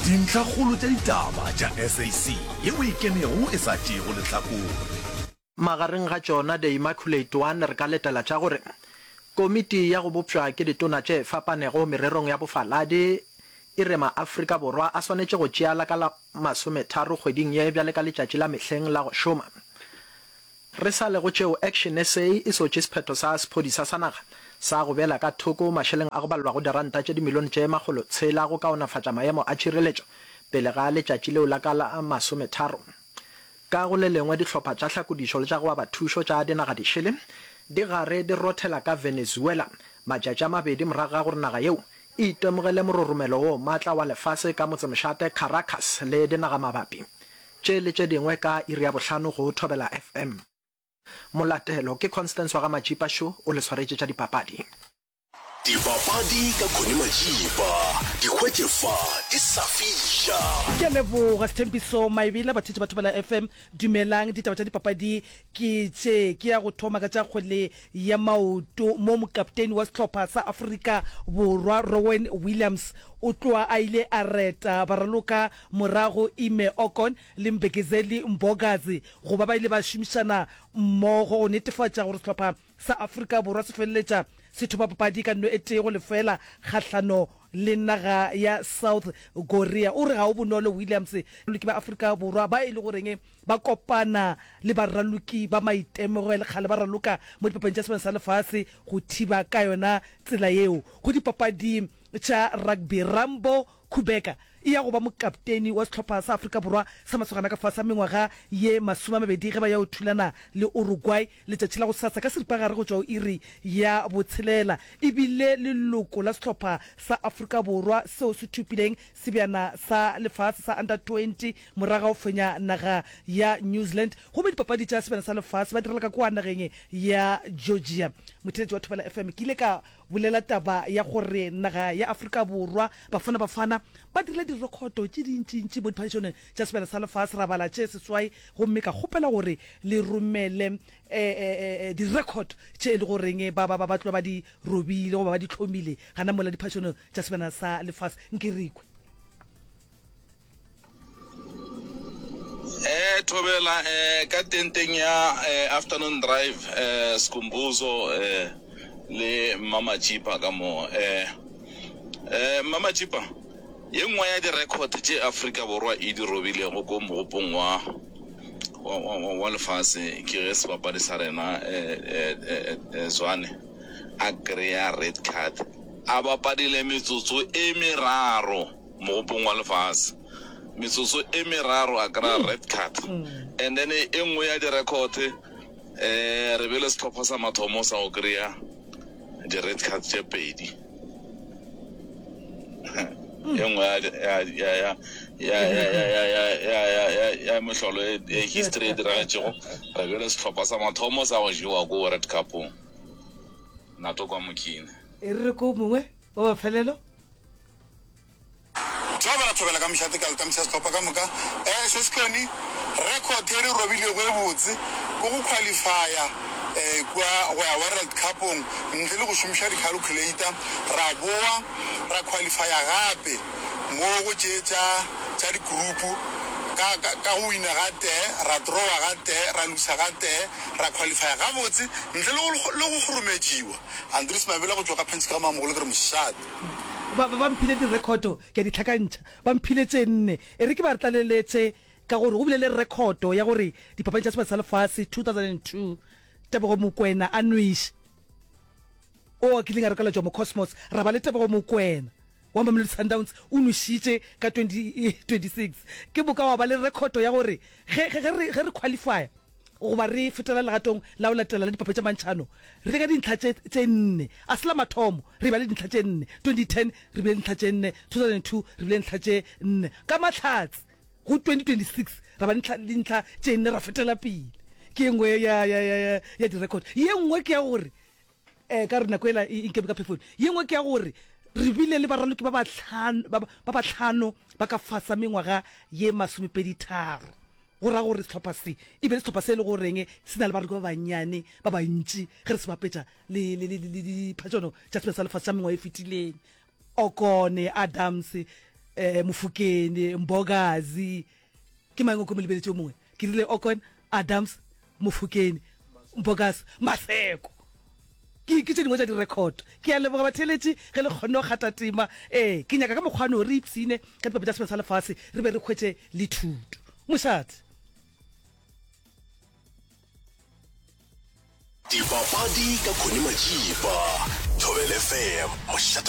Dintlhakgolo tša ditaba tša SAC ye o e kenego e sa tšeego lehlakore. Magareng ga tšona The Immaculate One re ka letela tša gore komiti ya go bopšwa ke ditona tše fapanego mererong ya bofaladi e re maAfrika Borwa a swanetše go tšea la ka la masometharo kgweding ye bjale ka letšatši la mehleng la go šoma. Re sa le go tšeo, Action SA e sotše sephetho sa sephodisa sa naga sa go beela ka thoko mašeleng a go balelwago diranta tše dimilione tše makgolotshela go kaonafatša maemo a tšhireletšo pele ga letšatši leo la ka la masometharo. Ka go le lengwe, dihlopha tša hlakodišo le tša go aba thušo tša dinaga dišele di gare di rothela ka Venezuela matšatši a mabedi morago ga gore naga yeo e itemogele mororomelo wo matla wa lefase ka motsemošate Caracas le dinagamabapi. Tše le tše dingwe ka iri ya bohlano go Thobela FM. Molatelo ke Constance wa ga Matšipa šo o le swaretše tša dipapadi. Dipapadi ka Connie Matšipa, di hwetše fa di sa fiša. Ke a leboga Sthembiso Maebela, batheetši ba Thobela FM. Dumelang, ditaba tša dipapadi ke tše. Ke ya go thoma ka tša kgwele ya maoto mo mokapteni wa sehlopha sa Afrika Borwa Rowan Williams o tloa a ile a reta baraloka Morago Ime Okon le Mbekezeli Mbokazi go ba ba ile ba šomišana mmogo go netefatša gore sehlopha sa Afrika Borwa se feleletša se thopa papadi ka nno e tee go lefeela kgahlano le naga ya South Korea. O re ga o bonolo Williams baraloki ba Afrika Borwa ba e le goreng ba kopana le baraloki ba maitemogelo kgale ba raloka mo dipapading tša Sebjana sa Lefase go thiba ka yona tsela yeo go dipapadi tša rugby. Rambo Kubeka e ya go ba mokapteni wa sehlopha sa Afrika Borwa sa masogana ka fase ga mengwaga ye masomemabedi ge ba ya go thulana le Uruguay letšatši la gosasa ka seripagare go tšwa go iri ya botshelela. E bile leloko la sehlopha sa Afrika Borwa seo se thopileng sebjana sa lefase sa Under 20 morago ga go fenya naga ya New Zealand gomme dipapadi tša sebjana sa lefase ba direla ka kua nageng ya Georgia. Motheeletši wa Thobela FM, ke ile ka Bolela taba ya gore naga ya Afrika Borwa, Bafana Bafana, ba dirile direkhoto tše dintšintši mo diphadišanong tša Sebjana sa Lefase, ra bala tše seswai gomme ka kgopela gore le romele direkhoto tše e le goreng ba, ba, ba, ba tloga ba di robile goba ba di hlomile gana mola diphadišanong tša Sebjana sa Lefase. Nke re kwe. Eh thobela eh ka tenteng ya eh afternoon drive eh Skhumbuzo eh le Mma Matšipa ka mo eh eh Mma Matšipa ye nngwe ya di-record tše Afrika Borwa e di robilego ko mogopong wa wa, wa, wa, wa lefase ke ge sebapadi sa rena eh, eh, eh, eh, Zwane a kry-a red card a bapadile metsotso e meraro Mogopong wa lefase. Metsotso e meraro a kry-a red card. And then e nngwe ya di-record um re bele sehlopha sa mathomo sa go kry-a di-red card tše pedi. E nngwe ya mehlolo e history e diragetšego, re bele sehlopha sa mathomo sa go jewa ko World Cup-ong. Nato kwa Mokhine. E re re ko mongwe wa mafelelo. Thobela, thobela ka mošate ka letamiša sehlopha ka moka. Eh, se Sehloni, record e re robilego e botse ke go qualifya eh, kua go ya World Cup-ong ntle le go šomiša di-calculator. Ra boa ra qualifya gape mo go tše tša, tša di-group ka, ka, ka go wina ga tee, ra drawa ga tee, ra lusa ga tee, ra qualifya gabotse ntle le go, le go kgorometšiwa. Andries Mabela go tšwa ka Penske ga Mamogolo ke re mošate. Ba, ba, ba mphile direkhoto, ke a di hlakantšha. Ba mphile tše nne. E re ke ba tlaleletše ka gore go bile le rekhoto ya gore Dipapadi tša Sebata sa Lefase 2002, Tebogo Mokoena a nweše, o a kileng a rekelwa Jomo Cosmos, ra ba le Tebogo Mokoena wa Mamelodi Sundowns o nwešitše ka 2026. Ke moka wa ba le rekhoto ya gore ge, ge, ge re, ge re qualifya, goba re fetela legatong la go latela la dipapadi tša mantšhano, re ka dintlha tše, tše nne. A se la mathomo re ba le dintlha tše nne. 2010 re bile dintlha tše nne, 2002 re bile dintlha tše nne. Ka mahlatse, go 2026 ra ba le dintlha tše nne ra fetela pele. Ke ye nngwe ya, ya, ya, ya, ya direkhoto. Ye nngwe ke ya gore, um ka gore nako ela e nkeme ka phefong, ye nngwe ke ya gore re bile le baraloki ba bahlano, ba, ba bahlano ba ka fasa mengwaga ye masomepeditharo. Go ra gore sehlopha se e be le sehlopha se e le goreng se na le baraloki ba bannyane ba bantši ge re se bapetša le, le, le, le diphatšano tša Sebjana sa Lefase tša mengwaga e fetileng. Okone, Adams. Eh, Mofokeng, Mbokazi, ke mang o ko mo lebeletše o mongwe? Ke rile Okon, Adams, Mofokeng, Mbokazi, Maseko. Ke, ke tše dingwe tša direkhoto. Ke a leboga batheeletši ge le kgonne go kgatha tema. Ee, ke nyaka ka mokgwa no re ipshine ka dipapadi tša Sebjana sa Lefase re be re hwetše le thuto. Mošate. Dipapadi ka Connie Majiba, Thobela FM, mošate.